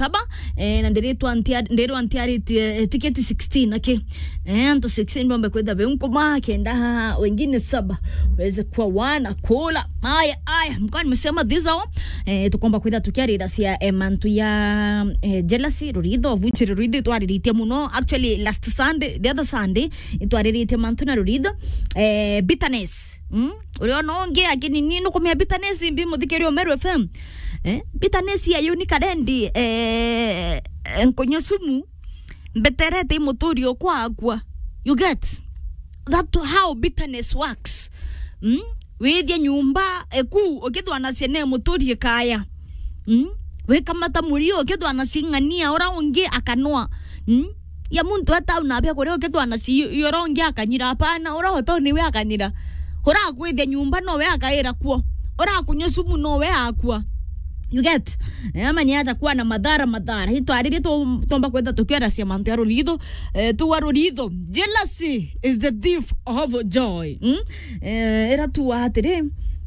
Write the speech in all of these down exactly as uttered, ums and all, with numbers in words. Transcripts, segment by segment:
saba, eh, na ndiritwa ntia-, ndirwa ntiaritie, eh, tiketi sixteen, aki. Eh, antu sixteen bombe kwitha beu nkuma, kenda wengine saba weze kuwa wana kula. Aya, aya, mkoa nimesema these are all. Eh, tukomba kwitha tukiarira cia, eh, mantu ya, eh, jealousy, ruritho, vuche ruritho twariritie muno. Actually, last Sunday, the other Sunday, itwariritie mantu na ruritho. Eh, bitterness. Mm? Uriona ungi, akini ni nukumia bitterness mbi, muthikiria Meru F M. Eh? Bitterness ya yuni karendi, eh, nkunywa sumu, mbeterete imuturi okwa akua. You get? That how bitterness works. Mm? Withia nyumba eku, ukithwa na ciana imuturi ikaya. Mm? Wikamata murio, ukithwa na cing'ania, ura ungi akanwa. Mm? Ya muntu eta una bia kuria, ukithwa na ci-, ura ungi akanyira, apana, ura oto niwe akanyira. Ura akwithia nyumba, nowe akaira kuo. Ura akunywa sumu, nowe akua. You get? Eh, manya atakuwa na madhara, madhara. Itwaririe tu-, tomba kwenda tukiaracia mantu ya ruritho. Eh, tuwa ruritho. Jealousy is the thief of joy. Mm? Eh, era tuwa atiri.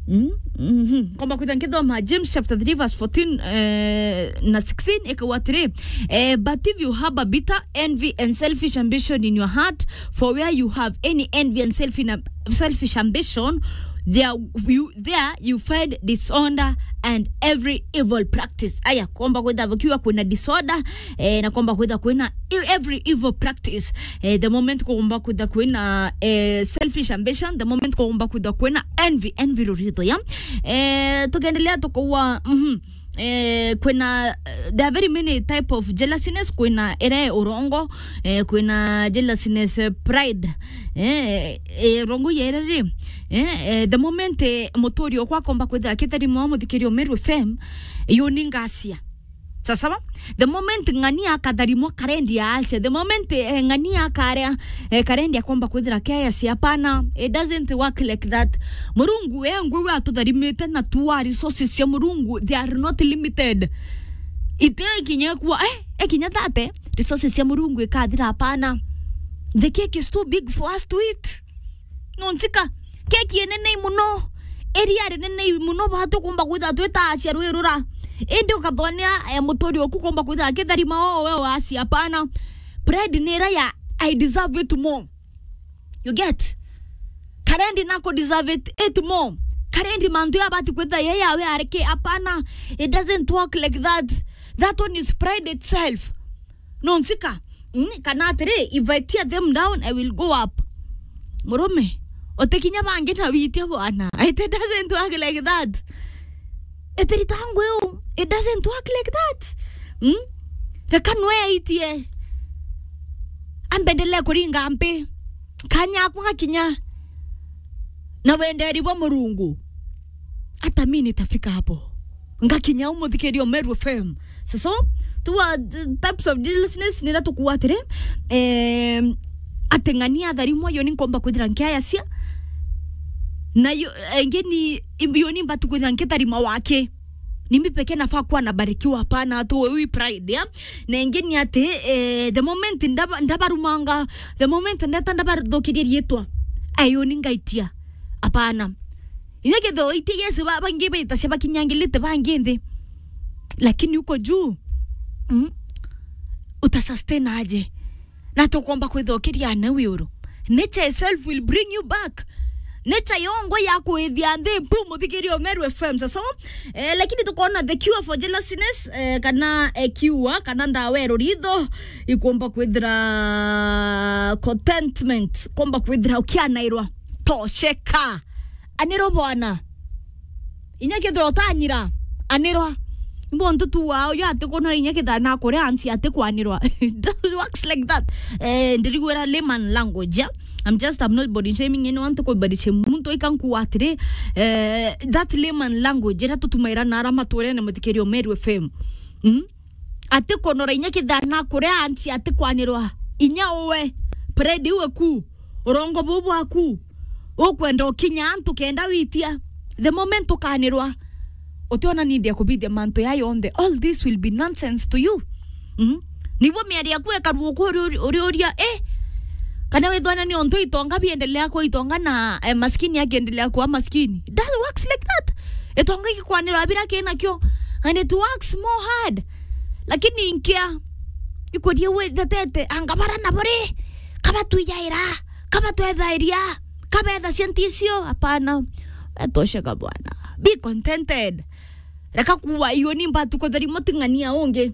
Mm? Mhm. Komba kwitha nkithoma James chapter three verse fourteen, eh, na sixteen, ikauga atiri, eh, "But if you harbor bitter envy and selfish ambition in your heart, for where you have any envy and selfish, selfish ambition, there you, there you find disorder and every evil practice." Aya, komba kwitha bukiwa kwina disorder, eh, na komba kwitha kwina e-, every evil practice. Eh, the moment komba kwitha kwina, eh, selfish ambition, the moment komba kwitha kwina envy, envy ruritho ya. Eh, tukiendelea tukaua, mhm. Eh, kwina, eh, there are very many type of jealousiness, kwina ere urongo, eh, kwina jealousiness, eh, pride. Eh, eh, urongo yere ri, eh, eh, the moment, eh, muturi okwa komba kwitha akitari mwa muthikirio Meru F M, yo ni ngacia. Sasawa? The moment ng'ani akatharimwa karendi ya acia, the moment, eh, ng'ani akaria, eh, karendi akomba kwithira kea acia, apana, it doesn't work like that. Murungu, eh, ngwi atutharimite na tuwa resources cia Murungu, they are not limited. Ite ikinya kuwa, eh, ikinya thate, resources cia Murungu ikathira, apana. The cake is too big for us to eat. Nonchika, keki enene muno, iria rinene muno, batu kumba kwitha twita acia rwirura. Indi ukathonea, eh, muturi oku kumba kwitha akitharima o we wacia, apana. Pride ni ira ya, "I deserve it more." You get? Karendi nako deserve it, it more. Karendi mantu ya bati kwitha ye yawe areke, apana. It doesn't work like that. That one is pride itself. Nonchika, mm, kana atiri, "If I tear them down, I will go up." Murume, utikinya bangi na witia bwana. It doesn't work like that. Itiri tangu iu. It doesn't work like that. Mm? Reka nwe aitie. Ambendelee kuringa mpi. Kanya akwa gakinya. Na wenderi bwa Murungu. Hata mimi nitafika hapo. Ngakinya umuthikirio Meru F M. So, so, two are the types of jealousiness nira tukuwa atiri, eh, ati ng'ani atharimwa, yo ni nkomba kwithira nkiayacia. Na yo, engi ni, yo ni mbatu kwithira nkitharima wake. Ni mimi pekee nafaa kuwa nabarikiwa, hapana, tu wi pride, ya? Na engi ni ati, eh, the moment ndaba-, ndabarumanga, the moment ndeta ndabathukiria riitwa, ayo ni ngaitia. Hapana. Inya kethira itia Yesu ba-, bangi betacia bakinyangilite bangi nthi. Lakini uko juu, mm, uta sustain aje? Na tukomba kwithokeria na wiuru. Nature itself will bring you back. Nature yongo ya kwithia nthi mpu muthikirio Meru F M. So, eh, lakini tukona the cure for jealousiness, eh, kana, eh, cure, kana ndawa ya ruritho, ikomba kwithira contentment, komba kwithira ukianairwa. Tosheka. Aniro bwana. Inya kethira utanyira, anirwa. Mbontu tu wao, yo ati kunwa inya kethira na kuria ansi ati kwanirwa. It works like that. Eh, ndirigwira layman language, yeah? I'm just, I'm not body shaming anyone, to body shame muntu. Ikankuwa atiri, eh, that layman language, ira tutumaira na ara maturene muthikirio Meru F M. Mm? Ati kunora inya kithana kuria ansi ati kwanirwa. Inya uwe, pride iwe ku, urongo buu bwaku, ukwenda ukinya antu kenda witia. The moment ukanirwa, utiona need ya kubithia mantu ya yonthe. All this will be nonsense to you. Mm? Nibo miari yaku ekaruo ku uri, uri, uriuria, eh? Kana withwana ni ontu itonga biendelea kwa itonga na, eh, maskini akiendelea kwa maskini. That works like that. Itonga ikikwanirwa bira kinakio. And it works more hard. Lakini nkia, ikuria we thetete, anga bara na buri, kaba tuijaira, kaba twethairia, kaba etha cia nticio, hapana. Etosheka bwana. Be contented. Reka kuwa iyo ni mbatu kutheri muting'ania ungi.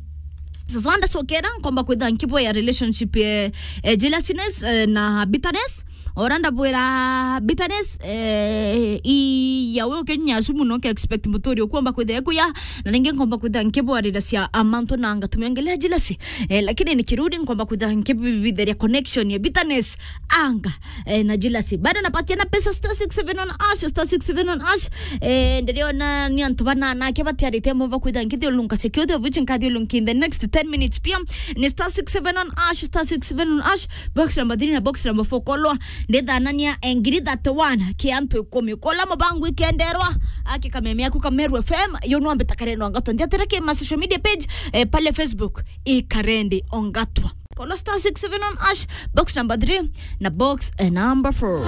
Sasa wanda sokera nkomba kwitha nkibwea relationship, eh, eh, jealousiness, eh, na bitterness. Ora ndabwira bitterness, eh, i ya we ukinya asu muno ke expect muturi ukomba kwitha kuya, na ningi nkomba kwitha nkibwarira cia amantu na ngatumia ngelea jealousy. Eh, lakini ni kirudi nkomba kwitha nkibibitheria connection ya bitterness, anga, eh, na jealousy. Bado napatia na pesa star six seven on hash, star six seven on hash. Eh, ndiriona ni antu bana nake batiarite mo bakwitha nkithiulunka security of which nkathi ulunki in the next ten minutes pia. Ni star six seven on hash, star six seven on hash. Box number three na box number four kolwa ndithanania, eh, ngiri thirty-one ki antu ikumi. Kola mubangu ikenderwa, aki kameme yaku ka Meru F M, yo nwambe takarendwa ngato. Ndiatira ki ma social media page, eh, pale Facebook, ikarendi ongatwa. Kola star six seven on hash, box number three na box, eh, number four.